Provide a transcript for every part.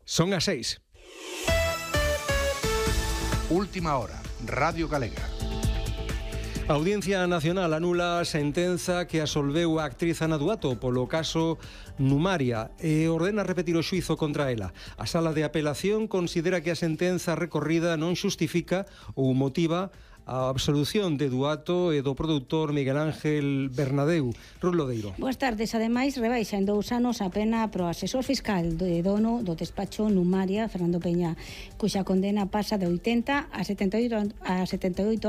Son as 6. Última hora, Radio Galega. A Audiencia Nacional anula a sentenza que absolveu a actriz Ana Duato polo caso Numaria e ordena repetir o xuízo contra ela. A Sala de Apelación considera que a sentenza recorrida non xustifica ou motiva a absolución de Duato e do produtor Miguel Ángel Bernadeu. Ruz Lodeiro. Boas tardes. Ademais, rebaixa en 2 anos a pena pro asesor fiscal de dono do despacho Numaria, Fernando Peña, cuxa condena pasa de 80 a 78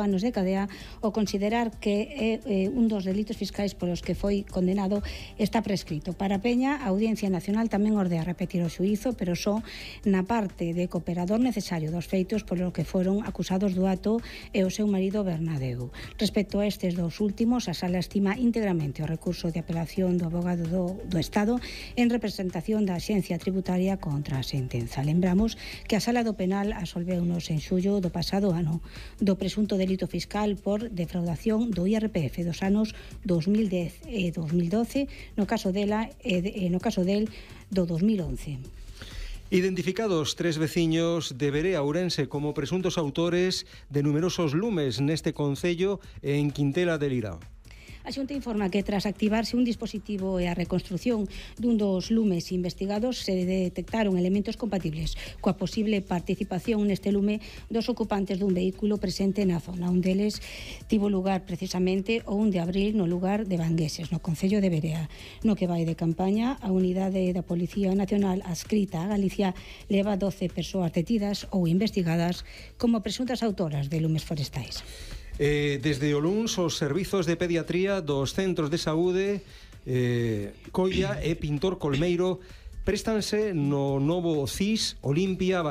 anos de cadea, ao considerar que un dos delitos fiscais polos que foi condenado está prescrito. Para Peña, a Audiencia Nacional tamén ordea repetir o xuízo, pero só na parte de cooperador necesario dos feitos polo que foron acusados Duato e o seu marido Bernadeu. Respecto a estes dous últimos, a Sala estima íntegramente o recurso de apelación do abogado do Estado en representación da Axencia Tributaria contra a sentenza. Lembramos que a Sala do Penal absolveunos en xullo do pasado ano do presunto delito fiscal por defraudación do IRPF dos anos 2010 e 2012, no caso del do 2011. Identificados 3 veciños de Verea, Ourense, como presuntos autores de numerosos lumes neste concello e en Quintela de Lirao. A Xunta informa que tras activarse un dispositivo e a reconstrución dun dos lumes investigados se detectaron elementos compatibles coa posible participación neste lume dos ocupantes dun vehículo presente na zona. Un deles tivo lugar precisamente o 1 de abril no lugar de Vangueses, no concello de Verea. No que vai de campaña, a unidade da Policía Nacional adscrita a Galicia leva 12 persoas detidas ou investigadas como presuntas autoras de lumes forestais. Desde o luns, os servizos de pediatría dos centros de saúde Colla e Pintor Colmeiro préstanse no novo CIS Olimpia Valencia